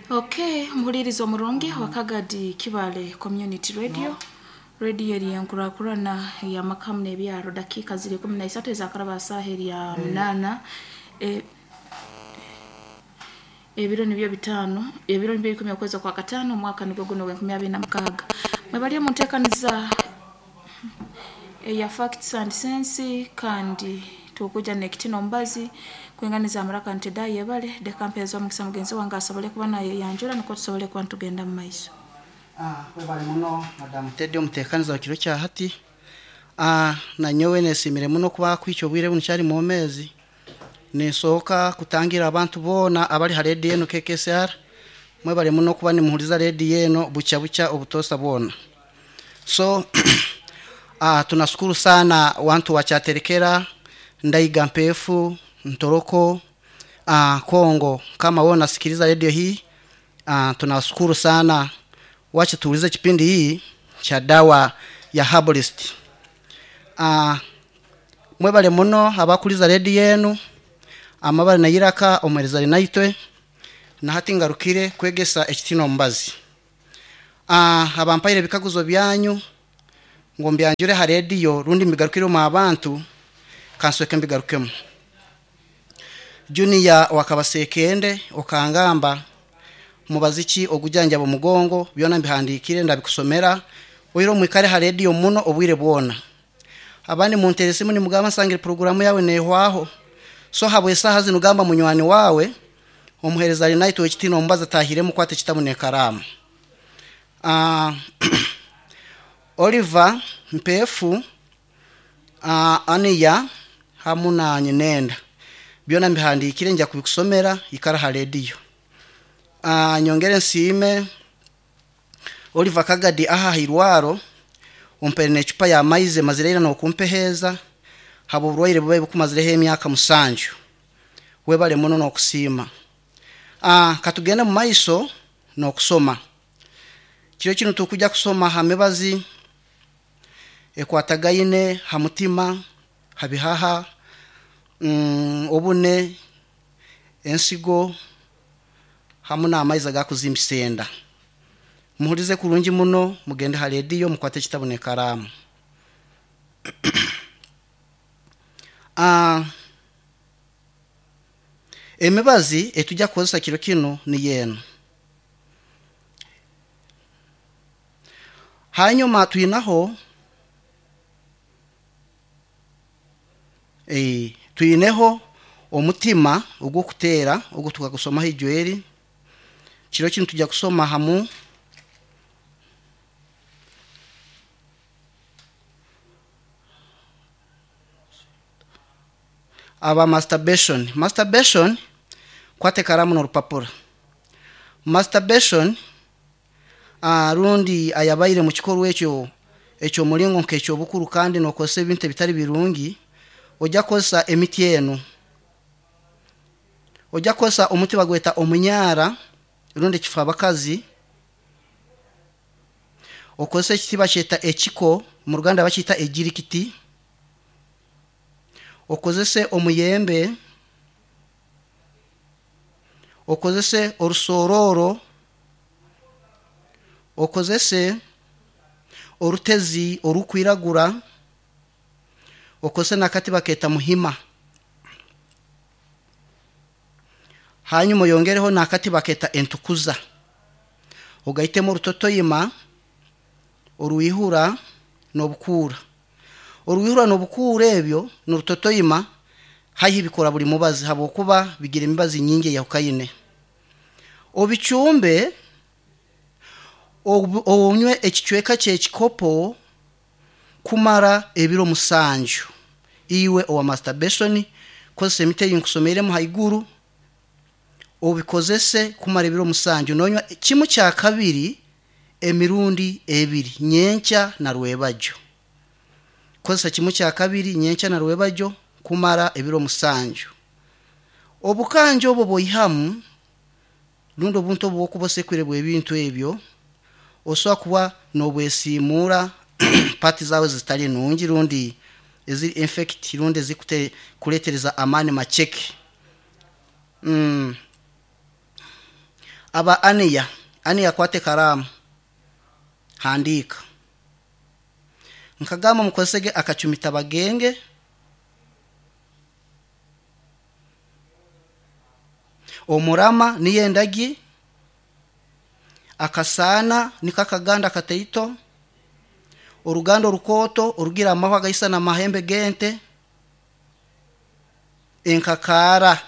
Okay, muhuliriza omurungi wa Kagadi Kibale Community Radio. Radio eri enkurakurana ey'amakamu n'ebyaro dakiika ziri 13 ezakaraba saaha erya munaana. E, ebiro nibyo bitaano, ebiro nibyo ikumi okwezi okwa kataano omwaka nigwo guno ogw'enkumi abiri na mukaaga. Mwebali omu nteekaniza eya Facts and Sense kandi tukuja n'ekitino omubazi kwinganiza amaraka nti da yebale deka mpeereza omukisa mugenzi wange asobole kuba nayeyanjura nukwo tusobole kuba nitugenda mu maiso. Webale muno Madam Teddy omuteekaniza wa kiro kya hati. Nanyowe neesiimire muno kuba kuhikya obwire bunu kyari mwomeezi. Ninsooka kutangira abantu boona abari ha rediyo enu KKSR. Mwebale muno kuba nimuhuriza rediyo eno bukya bukya obutoosa bwona. So tunashukuru sana wantu wa Kyaterekera, Ndaiga Mpefu, Ntoroko, Kongo. Kama wewe unasikiliza redio hii, tunashukuru sana. Wacha tuulize kipindi hii cha dawa ya herbalist. Mwebale muno abakuliza rediyo enu amabare nayiraka omuhereza ari naitwe na hati ngarukire kwegesa ekitino omubazi. Abampaire ebikaguzo byanyu ngu mbyanjure ha rediyo rundi mbigarukire omu abantu kansweke mbigarukemu. Junior wakabasekende okangamba mubazi ki ogujanjaba omugongo byona mbihandikire ndabikusomera oire omwikare ha rediyo muno obwire bwona. Abandi muntere esimu nimugamba nsangire programu yawe nehwaho. So habwe esaha zinu gamba munywani wawe omuhereza ari naitwe ekitino omubazi atahiremu kwata ekitabu n'ekaraamu. Oliver Mpefu, Aniya hamu na Nyinenda byona mbihandikire nja kubikusomera ikara ha rediyo. Nyongere nsiime Oliver Kagadi aha hairwaro ompere n'ecupa ya maize mazire ira nokumpeheeza haba oburwaire bubaire bukumazireho emyaka 7. Webale muno n'okusiima. Katugende mu maiso n'okusoma. Kiro kinu tukujja kusoma ha mibazi ekwatagaine ha mutima, ha bihaha, obune, ensigo hamu n'amaizi agakuzimbisa enda. Muhulize kurungi muno, mugende ha rediyo mukwate ekitabu n'ekaraamu. Emibazi etujja kukozesa kiro kinu niyo enu. Hanyuma twinaho twineho omutima ogw'okuteera ogu tukagusomaho ijweri. Kiro kinu tujja kusoma hamu aba masturbation. Masturbation kwata ekaramu n'orupapura. Masturbation rundi ayabaire mu kikorwa ekyo eky'omuringo nk'eky'obukuru kandi n'okozesa ebintu ebitari birungi, ojja kukozesa emiti enu. Ojja kukozesa omuti bagweta omunyara rundi ekifabakazi, okozesa ekiti bakyeta ekiko, mu Ruganda bakiyita ejirikiti, okozese omuyembe, okozese orusororo, okozese orutezi orukwiragura, okozese n'akati baketa muhima. Hanyuma oyongereho n'akati baketa entukuza. Ogaitemu orutotoyima, oruihura n'obukuura. Oruihura n'obukuura ebyo n'orutotoyima haihi bikora buli mubazi habwokuba bigira emibazi nyingi eyahukaine. Obichumbe onywe ekicweka ky'ekikopo kumara ebiro 7. Iwe owa masturbation kozesa emiti ei nkusomeiremu haiguru obikozese kumara ebiro 7 nonywa kimu kya kabiri emirundi 2 nyenkya na rwebagyo. Kozesa kimu kya kabiri nyenkya na rwebagyo kumara ebiro 7. Obukanja obwo bwoihamu rundi obuntu obu bwokuba bw'ebintu ebyo osobola kuba n'obwesiimuura pati zaawe zitari nungi rundi eziri infect rundi ezikuleetereza amaani maceke. Aba Aniya, Aniya akwate ekaramu, handiika. Nkagamba mukozesege akacumita bagenge, omurama niyo endagi, akasaana niko akaganda kataito, oruganda orukooto orugira amahwa gaisana amahembe g'ente, enkakaara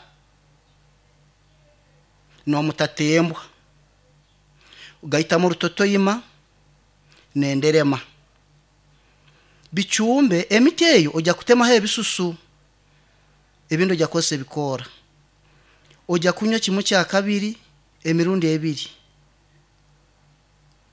n'omutatembwa, gaitamu orutotoima n'enderema. Bicumbe emiti eyo ojya kutemaho ebisusu, ebindi ojya kukozesa ebikoora. Ojya kunywa kimwe kya kabiri emirundi ebiri.